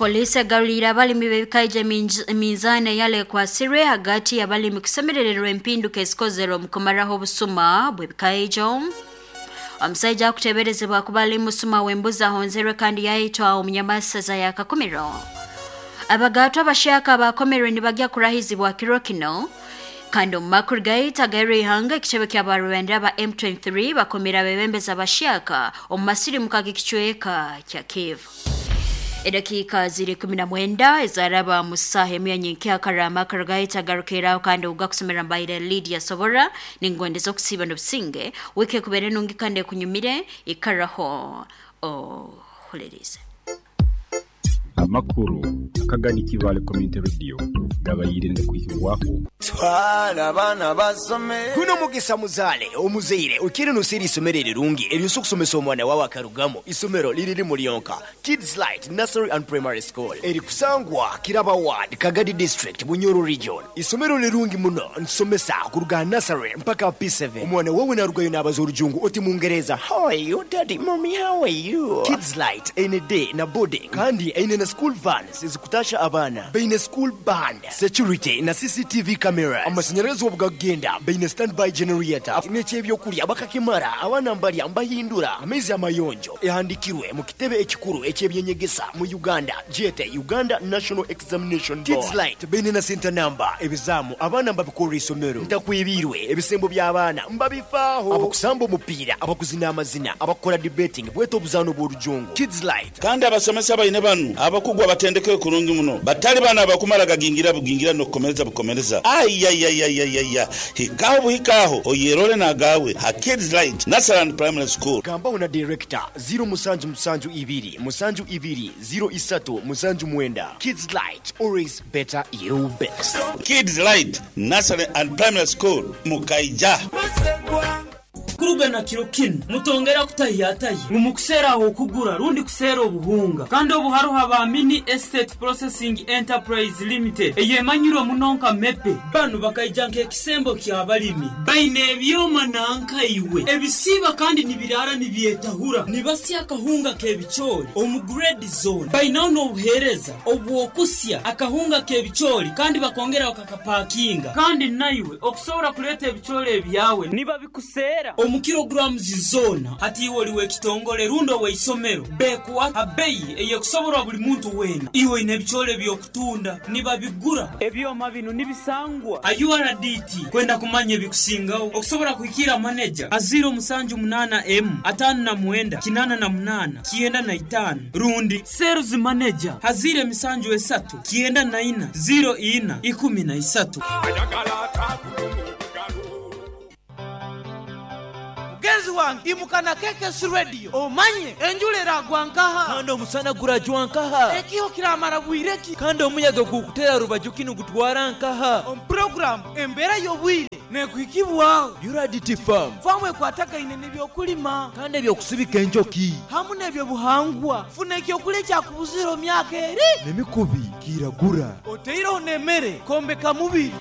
Poliisi egaruliire abalimi b'ebikaija eminzaani eyali ekwasirwe hagati y'abalimi kusemerererwa empinduka ezikozerwe omu kumaraho obusuma bw'ebikaijo. Omusaija akuteeberezebwa kuba ali musuma w'embuzi ahonzerwe kandi yaitwa omunyamasaza ya Kakumiro. Abagaatwa abahyaka abakomerwe nibagya kurahizibwa kiro kino. Kandi omu makuru gaitu ag'erihanga, ekitebe ky'abarwenda aba M23 bakomire abebembezi abahyaka omu masirimuka g'ekicweka kya Kivu. Edakiika ziri 19 ezaraba mu ssaaha emu ya nyenkyakara. Amakuru gaitu agarukiraho kandi ogugakusomera mbaire Lydia Sobora, ningondeza okusiiba n'obusinge. Wiiki ekubeere nungi kandi ekunyumire, ikaraho ohulirize. Amakuru akagani Kibaale Community Radio gabaire nigakwihibwaho. Twala abaana basome. Guno mugisa muzaale omuzaire oikaire noseera isomero erirungi eryosobola okusomesa omwana wawe akarugamu. Isomero liri limu lyonka, Kids Light Nursery and Primary School erikusangwa Kiraba Ward, Kagadi District, Bunyoro Region. Isomero lirungi muno, nitusomesa kuruga aha nursery mpaka aha P7. Omwana wawe narugayo nabaza orujungu oti mungereza, How are you daddy, mummy how are you? Kids Light eine day na boarding kandi eine na school vans ezikutasha abaana. Baine school band, security na CCTV cameras. Amashanyarazi obu gakugenda baine standby generator. N'eky'ebyokurya bakakimara, abaana mbarya mbahindura amaizi amayonjo. Ehandikirwe mu kitebe ekikuru eky'ebyenyegesa mu Uganda gyete Uganda National Examination Board. Kids Light baine na senta namba, ebizaamu abaana mbabikorra isomero, ntakwibiirwe, ebisembo by'abaana mbabifaaho, abakusamba omupiira, abakuzina amazina, abakukora debating bwete obuzaano bw'orujungu. Kids Light. Kandi abasomesa baine banu abakugu abatendekere kurungi muno, batali banu abakumara gagingira bugingira n'okukomereza bukomereza. Aiaiaiaiaia! Hikaho buhika aho oyerole n'agaawe ha Kids Light Nursery and Primary School. Gambaho na Director, ziro musanju musanju ibiri musanju ibiri ziro isatu musanju mwenda. Kids Light, always better you best. Kids Light Nursery and Primary School, Mukaija. Kuruga na kiro kinu, mutongera kutahiyatahya ngu mukuseera ah'okugura rundi kuseera obuhunga. Kandi obu haroho aba Mini Estate Processing Enterprise Limited eyemanyirwe muno nka MEPE. Banu bakaija nk'ekisembo ky'abalimi. Baine ebyoma nanka iwe ebisiiba kandi nibiraara nibyetahura. Nibasya akahunga k'ebicoori omu grade zoona. Bainaho n'obuheereza obw'okusya akahunga k'ebicoori kandi bakongera bakakapakinga. Kandi naiwe okusobora kuleeta ebicoori ebyawe nibabikuseera omu kilograms zoona. Hati iwe oli w'ekitongole rundi ow'eisomero, bekuha ha beyi ey'ekusoborwa buli muntu weena. Iwe oine ebicoori eby'okutunda, nibabigura. Ebyoma binu nibisangwa ha URDT. Kwenda kumanya ebikusingaho, okusobora kuhikiira maneja ha ziiro musanju munaana emu 59 88 95 rundi Sales Manager ha ziiro emisanju esatu 94 04 13. Mugenzi wange imuka na KKC Radio omanye enjura eragwa nkaha? Kandi omusana gurajwa nkaha? Ekiho kiramara bwire ki? Kandi omuyaga ogurikuteera rubaju ki nigutwara nkaha? Omu puroguraamu Embeera y'Obwire nekuhikibwaho. URDT Farm. Faamu ekwatagaine n'ebyokulima. Kandi eby'okusibika enjoki. Hamu n'ebyobuhangwa. Funa ekyokulya ekyakubuzire omu myaka eri. N'emikubi kiragura. Oteireho n'emere kwombeka mubiri.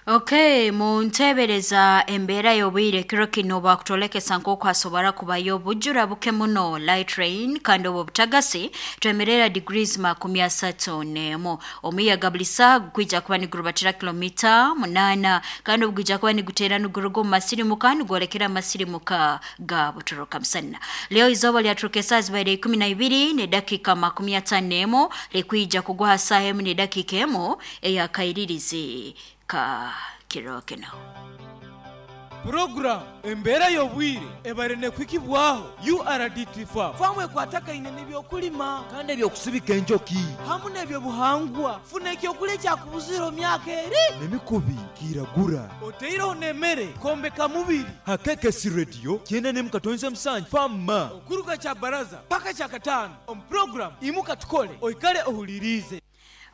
Ok, munteebereza embeera y'obwire kiro kinu bakutwolekesa nk'oku hasobora kubayo obujura buke muno, light rain, kandi obu obutagasi twemerera degrees 31. Omuyaga buli saaha gukwija kuba nigurubatira kilomita 8 kandi obu gwija kuba niguteera niguruga omu masirimuka nigwolekera amasirimuka ga Butoroka musana. Leo izooba lyaturuka esaaha zibaire 12 n'edakiika 51, likwija kugwa ha saaha emu n'edakiika emu ey'akairirizi ka kiro kinu. Puroguramu Embeera y'Obwire ebaire nekuhikibwaho URDT Farm. Faamu ekwatagaine n'ebyokulima. Kandi eby'okusibika enjoki. Hamu n'ebyobuhangwa. Funa ekyokulya ekyakubuzire omu myaka eri. N'emikubi kiragura. Oteireho n'emere kwombeka mubiri. Ha KKC Radio 97.7 Farm Ma. Okuruga Kyabaraza paka Kyakataano omu puroguramu Imuka Tukole oikale ohuliriize.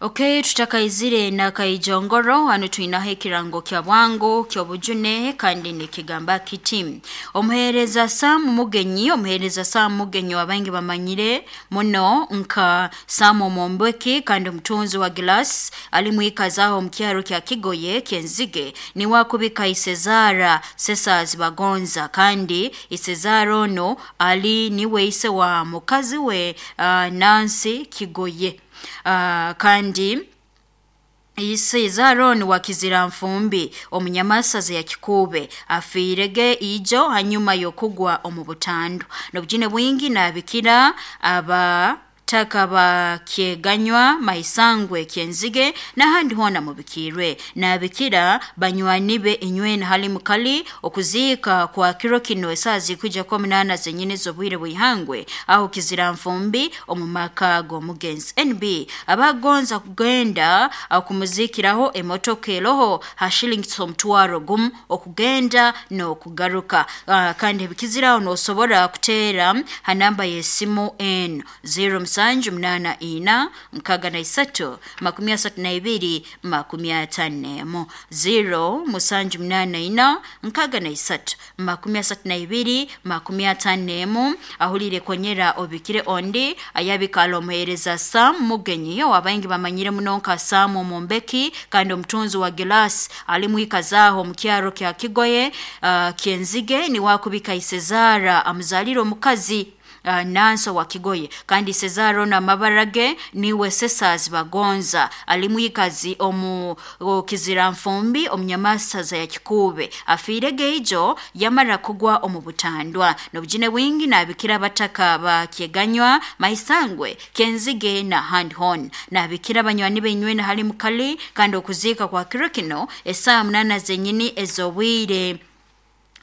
Ok, tutakaizire na Kaijongoro, hanu twinaho ekirango kya bwangu ky'obujune kandi nikigamba kiti: Omuheereza Sam Mugenyi, omuheereza Sam Mugenyi wabaingi bamanyire muno nka Sam Omombweki kandi omutunzi wa Glass ali mwikazaho omu kyaro kya Kigoye ky'Enzige, niwe akubika Isezara Sesaz Bagonza, kandi Isezara ono ali niwe ise wa mukazi we Nancy Kigoye. Kandi Ise Zaron wa Kizira Nfumbi omunyamasaza ya Kikube afiirege ijo hanyuma yokugwa omu butandu. Nobujine bwingi nabikira aba taka bakyeganywa maisangwe kyenzige n'ahandi hoona mubikirwe. Nabikira banywani be inywena hali mukali okuziika kwa kiro kino esaa zikuja kwa 8 zenyine z'obwire bwihangwe aho Kizira Nfumbi omu maka g'omugenzi. NB abagonza kugenda okumuzikiraho emotoka eroho ha shillings 500 okugenda n'okugaruka. Kandi ebikiziraho nosobora kuteera ha namba y'esimu N 0 784 63 32 54 0 784 63 32 54. Ahulire konyera obikire ondi ayabikala omuhereza Sam Mugenyi wabaingi bamanyire muno nka Sam Omumbeki kandi omutunzi wa Gilas ali mwikazaho mu kyaro kya Kigoye Kyenzige ni wakubika Isezara amuzalira omukazi Nanso wa Kigoye kandi Cesaro na mabarage niwe Sesas Bagonza alimwikazi omu Kizira Nfumbi omunyamasaza ya Kikube afiire geijo yamara kugwa omu butandwa. Nobujine bwingi nabikira bataka bakyeganywa maisangwe Kenzige na Handhorn nabikira banywani benywena hali mukali kandi okuzika kwa kiro kino esaa 8 zenyini ezobwire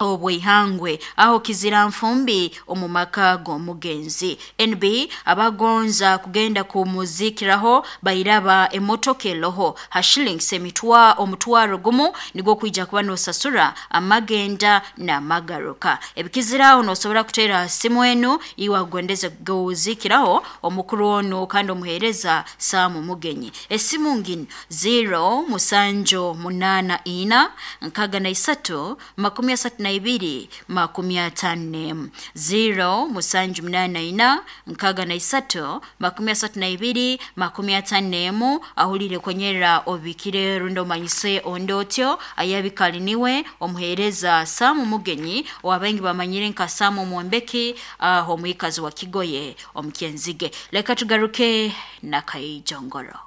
obwihangwe aho Kizira Nfumbi omu maka g'omugenzi. NB abagonza kugenda kumuzikiraho bairaba emotoka eroho ha shillings 500 nigwo kwija kuba nosasura amagenda n'amagaruka. Ebikiziraho nosobora kuteera simu enu iwe agondeze kuzikiraho omukuru ono kandi omuhereza Sam Mugenyi. Esimu ngino 0 7 8 4 63 32 54 0 7 84 63 32 54. Ahulire konyera obikire rundo manyise ondotyo ayabikali niwe omuhereza Sam Mugenyi wabengi bamanyire nka Sam Omumbeki omwikazi wa Kigoye omukyenzige. Leka tugaruke na Kaijongoro.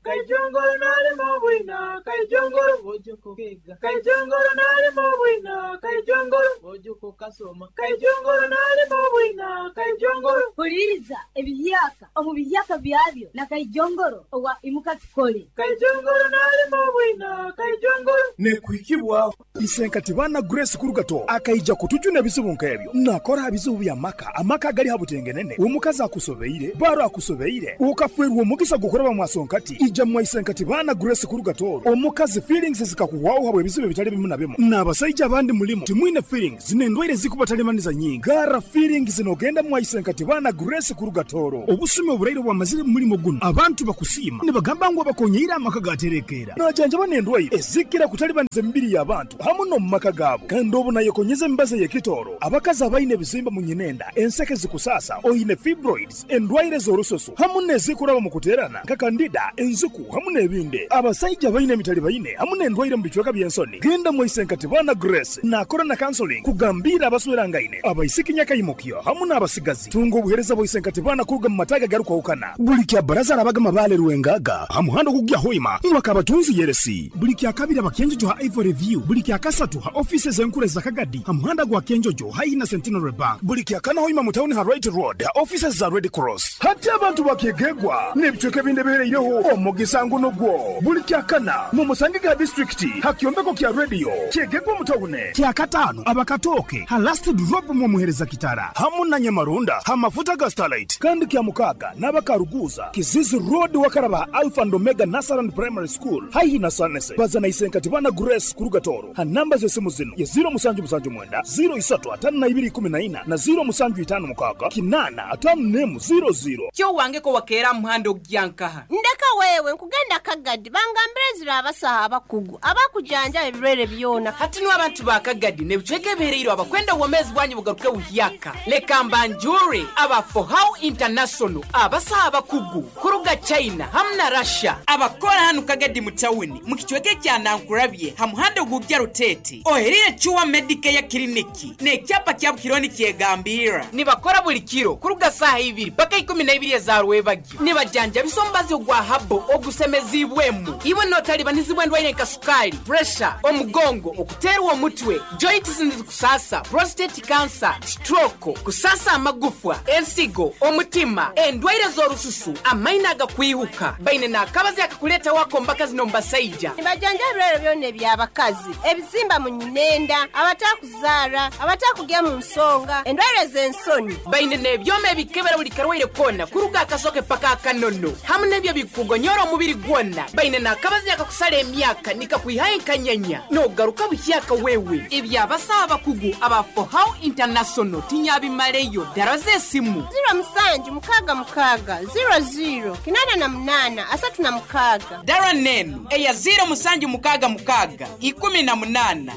Kaijongoro nali mubwina, Kaijongoro bojoko kega. Kaijongoro nali mubwina, Kaijongoro bojoko kasoma. Kaijongoro nali mubwina, Kaijongoro. Huliriza ebiyaka omu biyaka byabyo na Kaijongoro owa imuka tukole. Kaijongoro nali mubwina, Kaijongoro. Nekuhikibwa Isenkati bana Grace Kurugato akaija kutujuna ebizibu nkebyo. Nakora ebizibu bya maka, amaka gali habutengenene. Omukazi akusobeire, baro akusobeire. Ukafwerwa omugisa gukoraba mwasonkati. Ija mwaisenkati bana Grace Kurugatoro. Omukazi feelings zikakuwaho habwe ebizibu bitali bimu na bimu. N'abasajja abandi mulimu timwine feelings n'endwaire zikubatalimaniza nyingi. Gara feelings zinogenda mwaisenkati bana Grace Kurugatoro. Obusumi oburaire bwamazire mu mulimo guno. Abantu bakusiima nibagamba ngu abakonyeire amaka gaterekeera. Najanjaba n'endwaire ezikira kutalibaniza emibiri y'abantu hamu no mu maka gaabo. Kandi obu nayekonyeza emibazi ey'ekitooro. Abakazi abaine ebizimba mu nyinenda, enseke zikusasa, oine fibroids, endwaire z'orususu hamu n'ezikuraba mu kuteerana nka kandida, enzuku hamu n'ebindi. Abasajja baine emitali baine hamu n'endwaire mu bicweka by'ensoni. Genda mwaisenkati bana Grace nakora na counseling kugambira abaswerangaine, abaisiki nyakaimukyo hamu n'abasigazi. Tunga obuhereza bwaisenkati bana kuruga mu mataga garukwahukana. Buli kya baraza arabaga mabale rwengaga hamuhando kugya hoima mwakabatunzi yeresi. Buli kya kabiri abakenjojo ha Ivory View. Buli kya kasatu ha offices enkure za Kagadi hamuhanda gwa Kenjojo haina Centenary Bank. Buli kya kana hoima mu town ha Right Road ha offices za Red Cross. Hati abantu bakegegwa n'ebicweka ebindi bihereireho omugisango nogwo. Buli kya kana mu Musangiga district ha kyombeko kya radio kyegegwa mu town. Kya katano abakatoke ha last drop mu muhereza kitara hamu na Nyamarunda ha mafuta ga Starlight. Kandi kya mukaga n'abakaruguza Kizizi Road wakaraba Alpha and Omega Nasaran Primary School haihi na Sanese. Bazana isenkati bana Grace Kurugatoro ha namba z'esimu zino ya 0779 03 5214 na 0756 8 5 00. Kyo wange ko wakeera muhando gyankaha. Ndeka Mama wewe nkugenda Kagadi bangambire zira abasaha abakugu abakujanjaba ebirwaire byona. Hati niwe abantu ba Kagadi n'ebicweka ebihereirwe abakwenda obwomeezi bwanyu bugaruke buhyaka. Leka mbanjure aba Fohow International, abasaha abakugu kuruga China hamu na Russia, abakora hanu Kagadi mu tawuni mu kicweka ekya Nankurabye ha muhanda ogujja Rutete, oherire Chuwa Medicare Clinic n'ekyapa kya Bukironi kyegambira. Nibakora buli kiro kuruga saaha 2 paka 12 eza rwebagyo. Nibajanjabisa omubazi ogwa habo ogusemezibwemu iwe notalibanizibwa endwaire nka sukali, pressure, omugongo, okuterwa omutwe, joints nizikusasa, prostate cancer, stroke, kusasa amagufwa, ensigo, omutima, endwaire z'orususu, amaino agakwihuka. Baine n'akabazi akakuleta wako mbakazi n'omubasaija. Nibajanja ebirwaire byona eby'abakazi, ebizimba mu nyinenda, abatakuzaara, abatakugya mu nsonga, endwaire z'ensoni. Baine n'ebyoma ebikebera buli karwaire kona kuruga akasoke paka akanono, hamu n'ebyo bikugonyora omubiri gwona. Baine n'akabazi akakusala emyaka nikakwihayo enkanyanya n'ogaruka buhyaka wewe. Ebyabasaha abakugu aba Fohow International tinyabimaleyo. Dara z'esimu 0766 00 88 36. Dara nenu eya 0766 18 14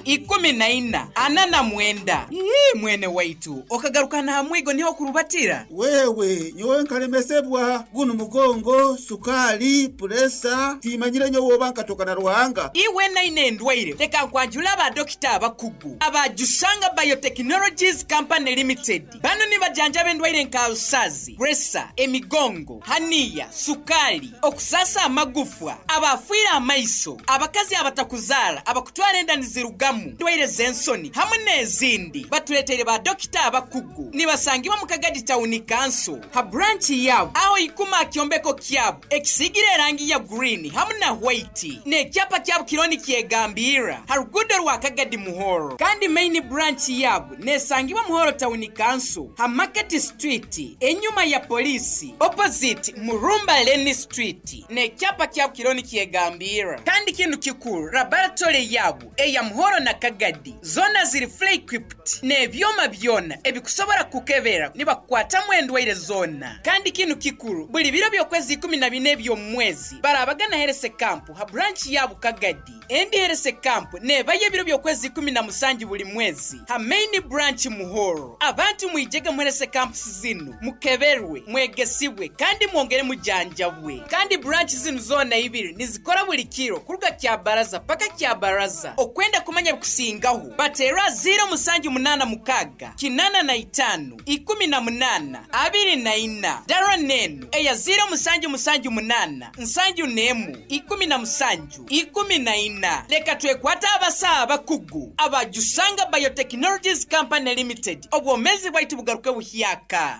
49. Ii, mwene waitu okagarukana hamwigo niho kurubatira. Wewe nyowe nkalemesebwa guno mugongo, sukali, puresa, timanyire nyowe oba nkatoka na Ruhanga. Iwe naine endwaire leka nkwanjula abadokita abakugu abajusanga Biotechnologies Company Limited. Bano nibajanjaba endwaire nka alusazi, puresa, emigongo, haniya, sukali, okusasa amagufwa, abafiire amaiso, abakazi abatakuzaara, abakutwara enda nizirugamu, endwaire z'ensoni hamwe n'ezindi. Batuleteire ba dokita abakugu. Nibasangibwa mu Kagadi Town Council ha branch yabo aho ikuma akyombeko kyabo ekisigire erangi ya green hamwe na white n'ekyapa kyabo kironi kyegambira ha rugudo rwa Kagadi Muhoro. Kandi main branch yabo nesangibwa Muhoro Town Council ha Market Street enyuma ya polisi opposite Murumba Lane Street n'ekyapa kyabo kironi kyegambira. Kandi kintu kikuru, laboratory yabo eya Muhoro na Kagadi zona ziri fully equipped n'ebyoma byona ebikusobora kukebera nibakukwatamu endwaire zona. Kandi kinu kikuru, buli biro by'okwezi 14 eby'omwezi barabagana herese kampu ha branch yabo Kagadi. Endi herese kampu nebaye ebiro by'okwezi 17 buli mwezi ha main branch Muhoro. Abantu mwijege muherese kampu zinu mukeberwe, mwegesibwe kandi mwongere mujanjabwe. Kandi branch zinu zona ibiri nizikora buli kiro kuruga kya baraza paka kya baraza. Okwenda kumanya bikusingaho batera 0786 85 18 24. Dara nenu eya 0778 71 17 14. Leka twekwata abasaha abakugu abajusanga Biotechnologies Company Limited. Obwomezi bwaitu bugaruke buhyaka.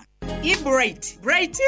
Bright, Bright,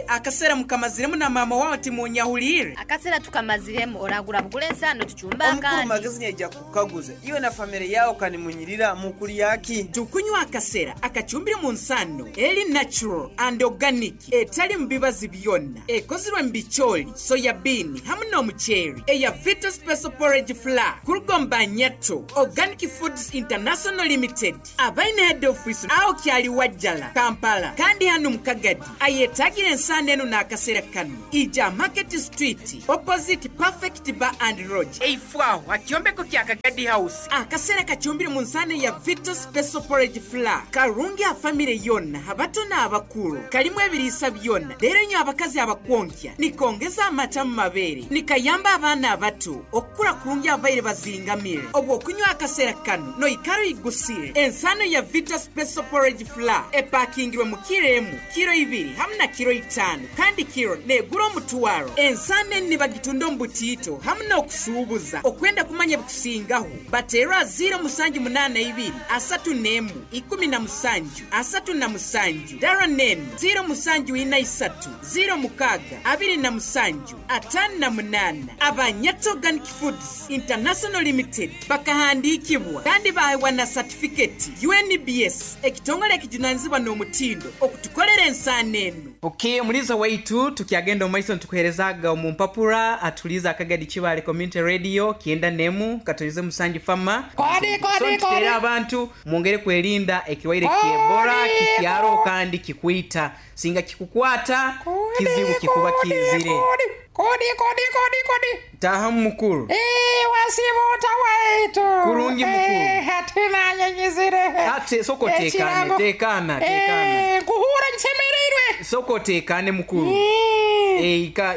akasera mukamaziremu na mama wawe timunyahulire. Akasera tukamaziremu oragura bugule ensano tuchumba Omukuru kandi. Magezi nyaija kukaguza iwe na family yao kanimunyirira mukuri yaki. Tukunywa akasera akachumbire mu nsano eri natural and organic, etali mubibazi byonna, ekozirwe mu bicholi, soya bean hamwe n'omuceeri, eya Vita Special Porridge Flour kurugomba Nyato Organic Foods International Limited, abaine head office aho kyali Wajjala Kampala. Kandi hano mu Kagadi ayetagire ensano eno n'akasera kano ija Market Street opposite Perfect Bar and Lodge eifwaho akyombeko kya Kagadi House. Akasera kachumbire mu nsano ya Vita Special Porridge Flour karungi a family yonna, abato n'abakulu, kalimu ebiriisa byonna. Leero nnyo abakazi abakwonkya nikongeza amata mu mabeere, nikayamba abaana abato okukula kurungi abaire bazingamire. Obwo okunywa akasera kano noikara igusire. Ensano ya Vita Special Porridge Flour epakingirwe mu kiro emu, kiro 2 hamwe na kiro 5, kandi kiro negura omutwaro. Ensano eni nibagitunda omu butiito hamwe n'okusuubuza. Okwenda kumanya bikusingaho batera 0782 31 17 37. Dara nenu 0743 06 27 58. Abanyato Organic Foods International Limited bakahandikibwa kandi bahewa na certificate UNBS, ekitongole ekijunanizibwa n'omutindo okutukolera ensano eno. Okay, omulizo waitu tukyagenda omumaiso nitukuherezaga omu mpapura atuliza Akagadi Kibale Community Radio kienda nemu katonize musanju fama. Kodi, kodi, So nituteera kodi. abantu mwongere kwerinda ekiwaire kyebora kikyaro kandi kikwita. Singa kikukwata kizibu kikuba kizire. Kodi kodi kodi kodi. Tahamu mukuru. Wasibuta waitu. Kurungi mukuru. Hatina nyenyizire. Ate soko tekane, Ekirango. tekana, tekana. Kuhura nsemereirwe. Soko tekane mukuru.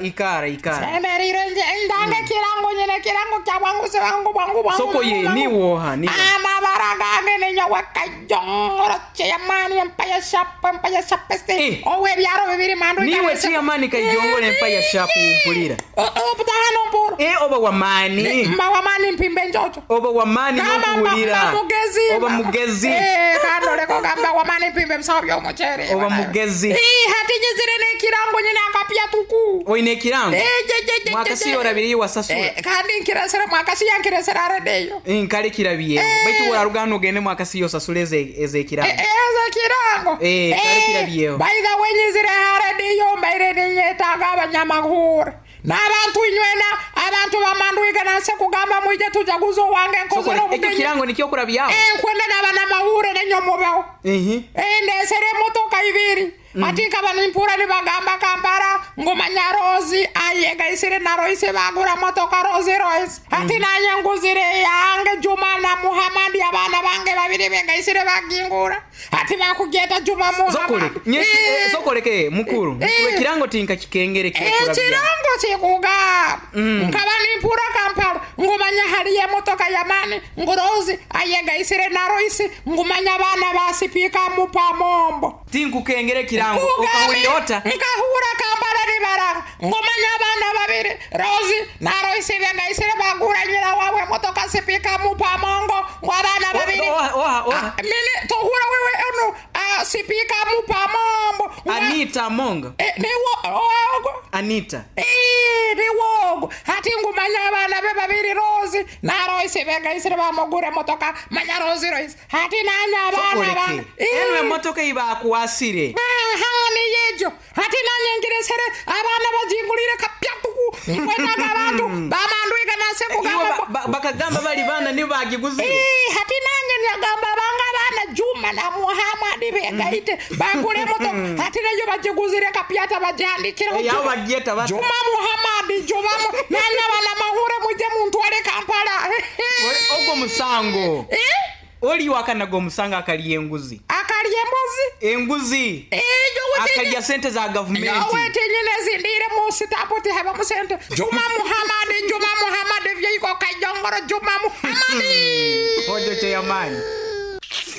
Ikara ikara. Semereirwe nje ndanga kirango nyine kirango kya bwangu se bwangu bwangu bwangu. Soko ye ni woha ni. Amabara gange nenyowe kajongoro chairman empire shop empire shop este. Owe byaro bibiri mandu. Niwe chairman kajongore empire shop mpulira. Obutahano mpura. Oba wamani. Mba wamani mpimbe njojo. Oba wamani nokuwulira. Mba mugezi. Oba mugezi. Kandoleko gamba wamani mpimbe msawo by'omuceere. Oba mugezi. Hatinyizire n'ekirango nyine akapya tuku. Oine ekirango. Je, je, Mwakasi je. orabiriye wasasura. Kandi nkiresere mwakasi yankiresere aredeyo. Nkale kirabiye. Baitu wararuga hano ugende mwakasi yosasura eze ekirango. Eze kirango. Kale kirabiyeho. By the way nyizire haredeyo mbaire ninyetaaga abanyamahuri. N'abantu inywena abantu bamanduiga nanse kugamba mwije tujaguza owange nkozere Soko, ekyo kirango nikyo kurabyaho. Nkwenda n'abanamahuri nenyomubeho. Ndesere emotoka ibiri. Ati nkaba nimpura nibagamba Kampala ngumanya Rozi ayegaisire na Royce bagura motoka Rozi Royce. Ati nanye nguzire yange Juma na Muhamadi abana bange babiri begaisire bagingura. Ati bakugeta Juma Sokole, Muhamadi. sokoleke mukuru. Mukuru ekirango tinka kikengere kyokurabya. Ekirango kikugamba nkaba nimpura Kampala ngumanya haliyo emotoka yamani ngurozi ayegaisire na Royce ngumanya abana basipika mupamombo. Tinkukengere ekirango okahulira ota. Nkahura Kampala nibaranga ngumanya abana babiri Rozi na Royce begaisire bagura nyina wabwe emotoka sipika mupamongo ngo abana babiri. Oha, oha. Mine tohura wewe ono sipika mupamombo. Anita Mongo. Niwo ogo. Anita. Niwogo hati ngumanya abana be babiri Rozi na Royce begaisire bamugura emotoka manya Rozi Royce hati nanya abana Sokoleke. bange. Eno emotoka ibakuwasire. Aha niyejo hati nanye ngiresere abana bajingulire kapyatuku nkwenaga abantu bamanduiga nase Iwe kugamba bakagamba bali bana nibo bagiguzire. Hati nange nyagamba banga abana Juma na Muhamadi begaite bagure emotoka hati nayo bagiguzire kapyata bagihandikiraho Aho Juma. bagyeta bata. Juma Muhamadi Juma nanya banamahure muje muntware Kampala. Ogwo musango. Oli wakanaga omusango akalya enguzi. Akalya embuzi. Enguzi. Akalya sente za gavumenti. Nawe tinyine zindire mu sitapu tihaba musente. Juma Muhamadi Juma Muhamadi vyeiko kajongoro Juma Muhamadi. Ojo chairman.